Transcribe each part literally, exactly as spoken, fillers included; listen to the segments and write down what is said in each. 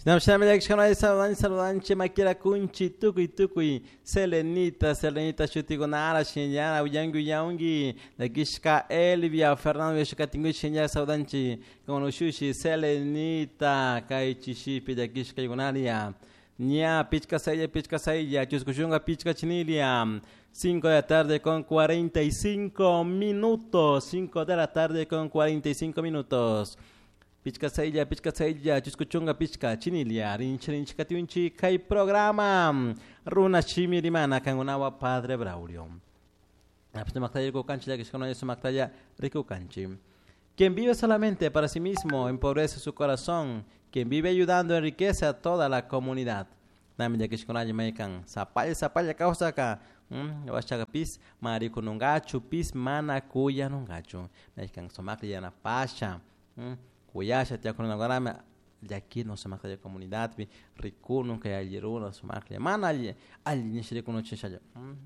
Saludan saludanchi makira kunchi tukuy tukuy Selenita Selenita shutikunara shinyara uyangi uyangi llakishka Elvia Fernando yashkatingu shinyara saludanchi con ushushi Selenita kay chishipi llakishka yunaria ña pichka saylla pichka saylla chuskuchunka pichka chinilia cinco de la tarde con cuarenta y cinco minutos cinco de la tarde con cuarenta y cinco minutos Pichka saylla, pichka saylla, chuskuchunga pichka, chinilia, rinchi rinchi katiunchi, kay programa Runa Shimi Rimana, kangunawa Padre Braulio. Quien vive solamente para sí mismo empobrece su corazón. Quien vive ayudando enriquece a toda la comunidad. Nami llakishkunalla maykan sapalla sapalla kawsaka washaqa pis marikununkachu pis mana kuyanunkachu maykan sumaklla yanapasha kuyasha tiyakunakunami llakino sumaklla comunidadpi rikunun kay alli runa sumaklla mana alli alli nisha rikunuchishalla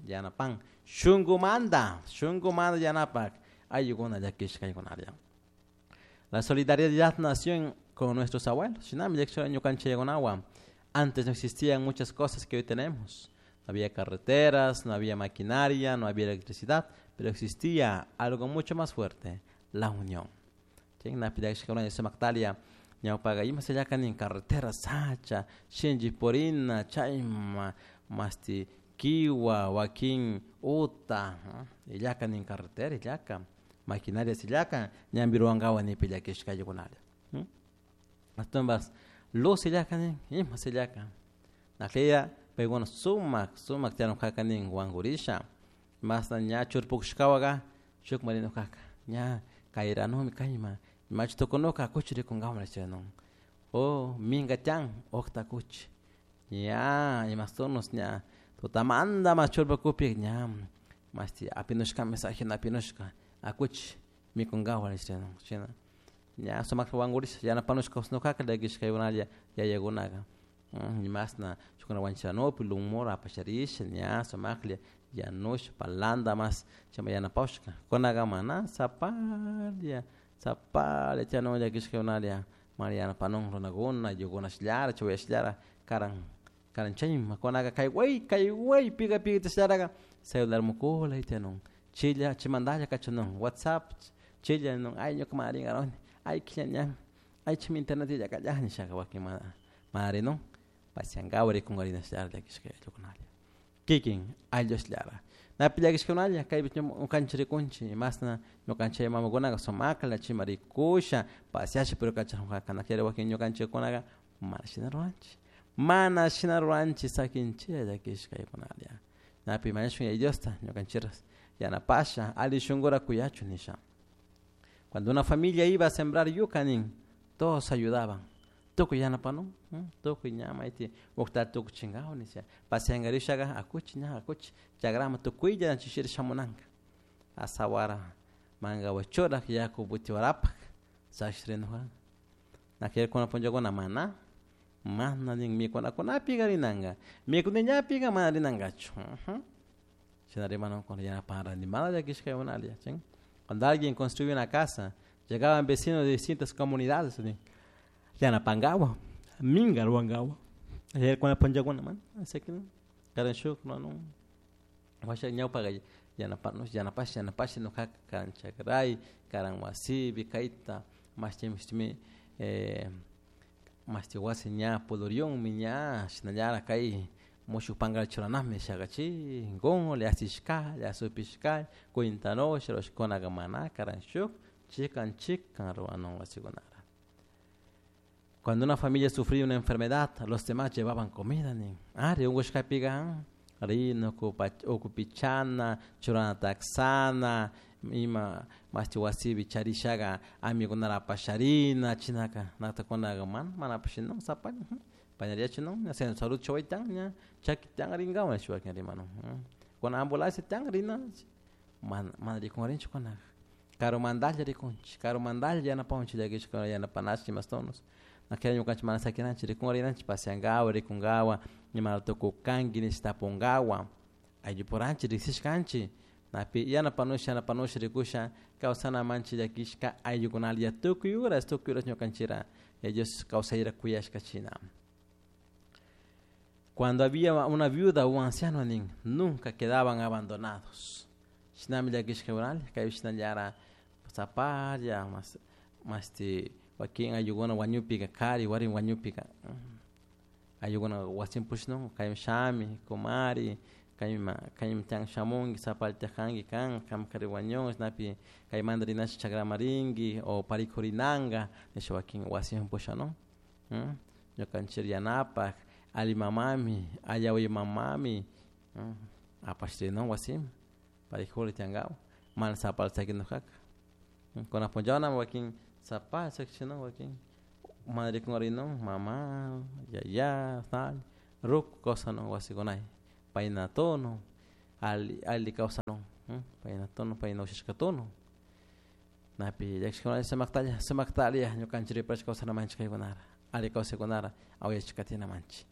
yanapan shunkumanta shunkumanta yanapak ayllukuna llakishkaykunalla. La solidaridad nació con nuestros abuelos. Shinami llakishka ñukanchikkunawan. Antes no existían muchas cosas que hoy tenemos. No había carreteras, no había maquinaria, no había electricidad, pero existía algo mucho más fuerte, la unión. Ñawpaqa ima sillakanin carretera sacha, shinchi purina, chayma, masti kiwa, wakin uta, illakanin carretera, illaka, maquinaria sillaka, ñampi ruwankawan nipi llakishkaykunalla. Ashtawanpas luz illakanin, ima sillaka. Nakliya paykuna sumak, sumak tiyanukakanin wankurisha, masna ña churpukushkawaka shuk marinukaka, ña kayranumi kayma, machu tukunuka kuchi rikunkawan nishun. O minka tiyan uqta kuchi, ña imastunos ña tutamanta mas churpukukpi ña masti apinushka mensaje apinushka akuchi mikunkawan nishun shina ña sumakta wankurisha yanapanushka kawsanukaka llakishkaykunalla yayakunaka imasna shukuna wanchiranupi lumura apasharisha ña sumaklla yanusha palanta mas chayma yanapawshka kunaka mana sapalla sapalla tiyanun llakishkaykunalla mana yanapanun runakuna ayllukuna chawayashllara karan karan chayma kunaka kay way kay way pika pika celular mukula tiyanun chilla chaymantalla kachanun WhatsApp chilla nun ay ñuka mana rinkaruni ay killa ñan ay chaymi internet illakalla nishaka wakin mana mana rinun pasiankawa rikunkarinashllara llakishka ayllukunalla kikin ayllushlara napi llakishkunalla kaypi ñukanchik rikunchik imasna ñukanchik mamakunaka sumakla chayma rikusha pasiasha pero kachajunjaka nakllari wakin ñukanchikkunaka mana shina ruranchik mana shina ruranchik sakinchilla llakishkaykunalla napi mañashun Yaya Diosta ñukanchik yanapasha alli shunkura kuyachun nisha. Cuando una familia iba a sembrar yuca nin todos ayudaban tukuy yanapanun tukuy ña mayti uqta tukuchinkawan nisha pasiankarishaka akuchi ña akuchi chakraman tukuylla chishira shamunanka asawara mankawan churak yaku butiwarapak sakshirinuja nakllari kunan punllakuna mana mana nin mikunakunapika rinanka mikuniñapika mana rinankachu shina rimanukuna yanapan mana llakishkaykunalla chin. Cuando alguien construye una casa llegaban vecinos de distintas comunidades yanapankawan minka ruwankawan kunan punllakuna mana karan shuk ruwanun washa ñawpaka yanapanush yanapash yanapash nukaka karan chakray karan wasipi kayta mashti mishtimi eh mashti wasi ña puduriyunmi ña shinallara kay mushuk pankata churanami nishaka chinkunla asishkalla asupishkalla cuentanusha rurashkunaka mana karan shuk chikan chikan ruwanun wasikunara. Cuando una familia sufría una enfermedad, los demás llevaban comida nin. Ari unkushkapika rina ukupichana churana taksana ima mashti wasipi charishaka amigunara apasharina chinaka naktakunaka mana mana apashinun sapalla pañariachinun ña centro salud chaway tiyan ña chaki tiyan rinkawan nishpa wakin rimanun kuna ambulancia tiyan rina mana mana rikunrinchik kunaka karumantalla rikunchik karumantalla yanapawanchik llakishka yanapanashi imastonos nakllari ñukanchik mana sakinanchik rikunrinanchik pasiankawan rikunkawan imata tukukanki nish tapunkawan ayllupuranchik riksishkanchik napi yanapanusha yanapanusha rikusha kawsanamanchik llakishka ayllukunalla tukuy horas tukuy horas ñukanchikra Yaya Dios kawsayra kuyashka china. Cuando había una viuda o un anciano nin, nunca quedaban abandonados. Shinami llakishka kay shinallara sapalla mas masti wakin ayllukuna wañupika kari warmi wañupika ayllukuna wasin pushnun kayman shami kumari kayma kaymi tian shamunki sapalla tiyakanki kan kan kari wañun chashnapi kaymanta rinashi chakraman rinki o parikurinanka nisha wakin wasiman pushanun ñukanchik yanapak alli mamami alli mamami apash rinun wasiman parikuri tiyankapak mana sapalla sakinujaka kunan punllawna wakin sapalla sakishinun wakin mana rikunrinun mama, yaya, ruku kawsanun wasikunay payna tunun alli alli kawsanun payna tunun payna ushashka tunun napi llakishkuna sumaktalla sumaktalla ñukanchik riparishpa kawsanamanchik kaykunara alli kawsaykunara awayachik katinamanchik.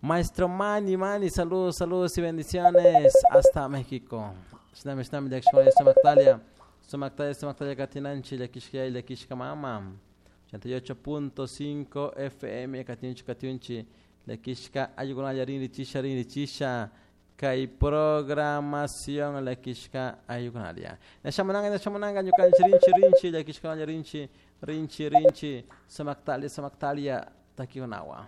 Maestro Manny, Manny, saludos, saludos y bendiciones hasta México. Shinami, shinami, llakishkuna sumaktalla, sumaktalla, sumaktalla katinanchik llakishka llakishka mama. ochenta y ocho punto cinco F M katinchik katinchik llakishka ayllukunalla rinrichisha rinrichisha kay programación llakishka ayllukunalla. Nashamunanga nashamunanga ñukanchik rinchi rinchi llakishkunalla rinchi rinchi rinchi sumaktalla sumaktalla takikunawan.